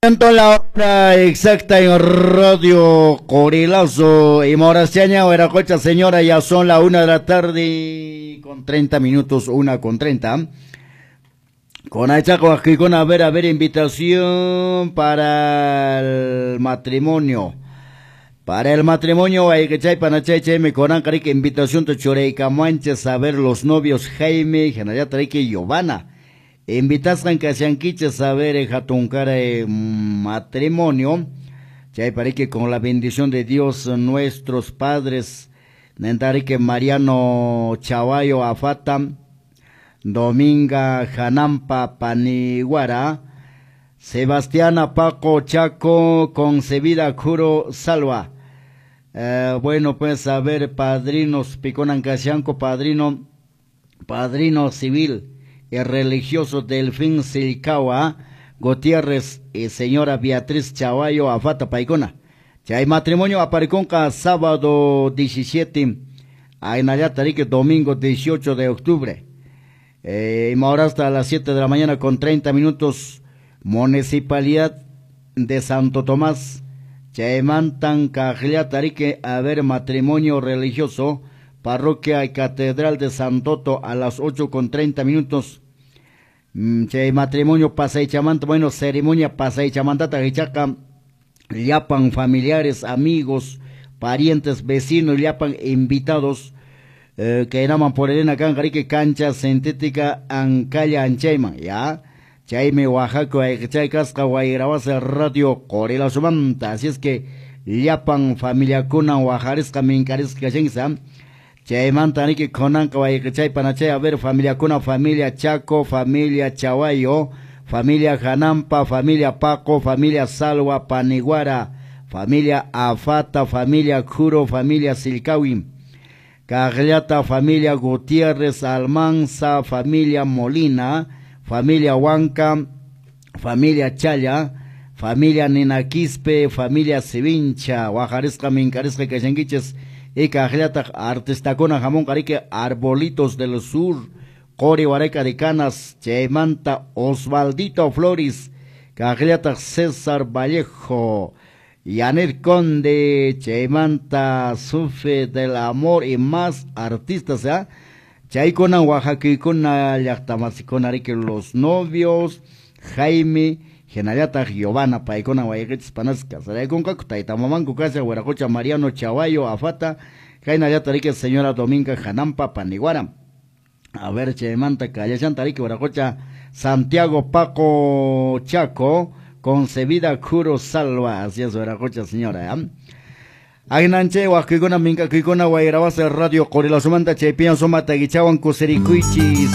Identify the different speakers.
Speaker 1: La hora exacta en Radio Corilazo y Moraciaña, Hueracocha, señora, ya son la 1 de la tarde con 30 minutos, 1:30. Con Achaco, aquí con a ver, invitación para el matrimonio. Para el matrimonio, hay que chay panachay chay me coran carique invitación te choreica manches a ver los novios Jaime, Genayata y Giovanna. Invitasqan kashankichis a ver hatunkara matrimonio. Chay parike con la bendición de Dios nuestros padres Nentarike Mariano Chawayo Afata, Dominga Janampa Paniguara, Sebastiana Paco Chaco, Concebida Juro Salva. Bueno, pues a ver, padrinos Piconan Kashanko, padrino civil y religioso Delfín Silcawa Gutiérrez y señora Beatriz Chawayo Afata Paikona. Chay matrimonio apareconca sábado 17, Ainayatarique domingo 18 de octubre. Y ahora hasta las 7 de la mañana con 30 minutos, Municipalidad de Santo Tomás, Chaymantan Cajliatarique, a ver matrimonio religioso, Parroquia y Catedral de Santoto a las 8:30. Chay matrimonio pasaychamanta, bueno, ceremonia pasaychamantata hichaqa, llapan familiares, amigos, parientes, vecinos, llapan invitados, que eran por Elena Canjarique, cancha sintética Ancalla Anchayman, ya. Chaymi Oaxaca, chay kasqa Guayrabasa Radio Qorilazumanta. Así es que llapan familiakuna Oaxarisqa minkarisqa kashansa. Chaymanta niki khonanqa wayqichay panachay, a ver familiakuna, familia Chaco, familia Chawayo, familia Janampa, familia Paco, familia Salwa Paniguara, familia Afata, familia Juro, familia Silcawi, Cagliata, familia Gutiérrez Almanza, familia Molina, familia Huanca, familia Chaya, familia Ninaquispe, familia Sivincha, Oaxarisqa minkarisqa kashankichis. Y Cagliata artistakuna jamón carique Arbolitos del Sur, Cori Huareca de Canas, Chaymanta Osvaldito Flores, Cagliata César Vallejo, Yanet Conde, Chaymanta Sufe del Amor y más artistas, ¿eh? Chaykuna Oaxaquikuna llaqtamasikuna riki los novios Jaime Genayata Giovanna paykuna wayqichis panas casaraykunqaku tayta mamanku kasha Huiracocha Mariano Chawayo Afata Jainayata riki señora Dominga Janampa Paniguara. A ver chaymanta kallashanta riki Huiracocha Santiago Paco Chaco Concebida Juro Salva. Así es Huiracocha señora, ¿eh? Agnanche, Huasquicuna, Mincaquicuna, Guayrabasa, Radio Qorilazumanta, Chaypian, Soma, Taguichawan, Cusericuichis.